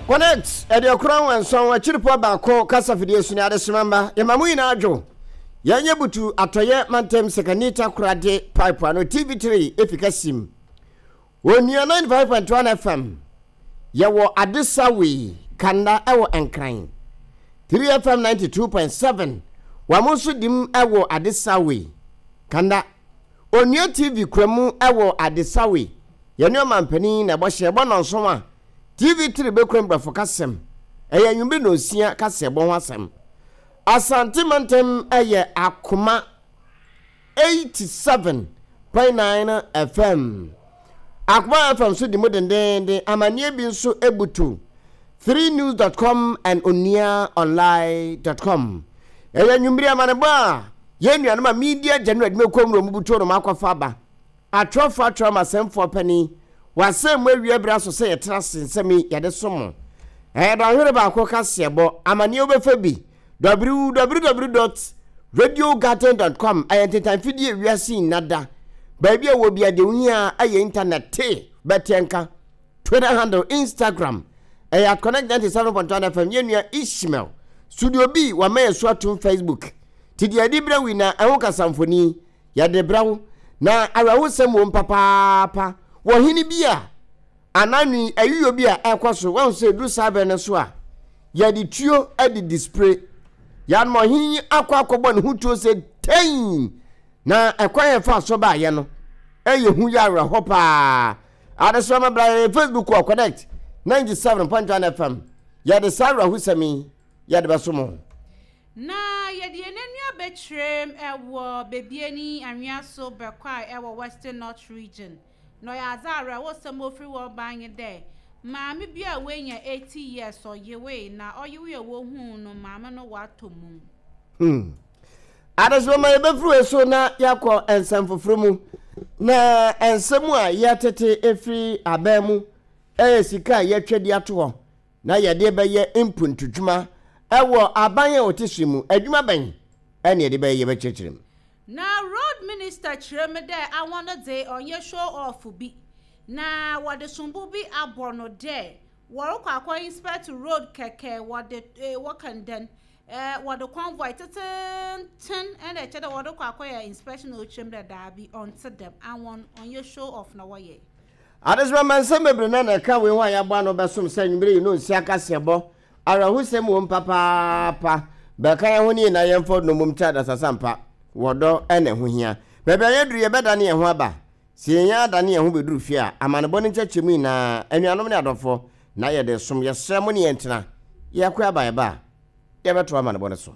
Connect 97 akyiripɔ baako kasafidie so ne adesoma mma yɛma mo nyinaa adwo. Yɛnyɛ butu atɔyɛ mantam sekani takorade pipe ano TV3 efi kasim. Onua 95.1 FM yɛwɔ Adesawi Kanda ɛwɔ Nkran. 3FM 92.7 wɔn nso dim ɛwɔ Adesawi Kanda. Onua TV kura mu ɛwɔ Adesawi. Yɛne ɔmanpanin na ɛbɔ hyɛ ɛbɔ nnɔnson a TV tiri bɛkura mbrɔfo kasɛm. Ɛyɛ anwummere nnɔnsia kaseɛbɔ ho asɛm. Asante mantam yɛ Akoma 87.9 FM. Akoma FM nso di mu dendeenden. Amanneɛ bi nso butu 3news.com and onuaonline.com. Ɛyɛ anwummere amanebɔ a yɛn nuanom a media general adwumakuo mu na wɔbutu wɔn akɔfa aba. Atwerɛfoɔ atwerɛ ama asɛmfoɔ panin, W'asɛm mu awie berɛ aso sɛ yɛtena ase nsɛm yi yɛde som mo. Ɛyɛ dɔnhwere baako kaseɛbɔ, amaneɛ wobɛfa bi, www dot radiogarden dot com ɛyɛ ntentan fidie wiase nyina da, baabi a wɔ bia deɛ wohia ɛyɛ internet te bɛteɛ nka, Twitter handle, Instagram ɛyɛ at connect 97.1 FM, yɛn nua Ishmael, Studio B wama yɛ so atom Facebook, ti deɛ ɛde berɛ wi na ɛho kasamfoni. Yɛde brɛ wo. Na awerɛhosɛm wom papaapa wɔ hene bi a anaa nwi ayiyɔ bi a ɛrekɔ so. Wahu sɛ ɛduru saa berɛ no so a, yɛde tuo de dispire. Yɛanom ɔhene yi akɔ akɔbɔ ne ho tuo sɛ tɛn. Na ɛkwan a ɛfa so baeɛ no, ɛyɛ hu yɛ awerɛhɔ paa. Adesoa ma bra yɛn Facebook wɔ Connect 97.1 FM. Yɛde saa awerɛhosɛm yi yɛde bɛso mo. Na yɛde yɛn ani abɛkyerɛm wɔ Bebiani anwea so Bɛkwae wɔ Western North Region. Na ɔyɛ adze a awerɛhosɛm a ofir hɔ ba nye dɛ, maame bi a oenya 80 years ɔyewee na ɔyewee a wohun no maame no ɔatɔ mum. Hmm. Adesoa ma yɛbɛfiri wei so na yɛakɔ nsɛm foforɔ mu. Na nsɛm a yɛtete ɛfiri aban mu ɛyɛ sika a yɛatwa di ato hɔ na yɛde bɛyɛ mpuntudwuma wɔ aban a ɔte so mu. Adwuma bɛn na yɛde bɛyɛ? Yɛbɛkyerɛkyerɛ mu. Na road minister kyerɛ mu dɛ awɔn no dze ɔnnyɛ show off bi na wɔdze sombo bi abɔ no dɛ wɔrokɔ akɔ inspect road kɛkɛ wɔdze wɔka no dɛn wɔdze convoy tsetsentsen na kyerɛ dɛ wɔdze kɔ akɔyɛ inspection na ɔkyerɛ mu dɛ daabi ɔnntse dɛm awɔn ɔnnyɛ show off na wɔyɛ. Adesoma ma nsɛm bebree na na ɛka wei ho a yɛabɔ ano bɛsom sɛ anwummere yi no nsi akaseɛbɔ. Awerɛhosɛm wom papaapa. Bɛka yɛn ho ne yɛn na yɛmfa nnommum nkyɛ adasasampa. Wɔ dɔ na ɛho hia. Baabi a yɛaduru yɛbɛdane yɛn ho aba. Sɛ yɛn adane yɛn ho bɛduru fie a, amanebɔ ne nkyɛkyerɛmu nyinaa, anuanom ne adɔfoɔ, na yɛde resom. Yɛsrɛ mo ne yɛn ntena. Yɛakɔ aba yɛba a, yɛbɛtoa amanebɔ no so.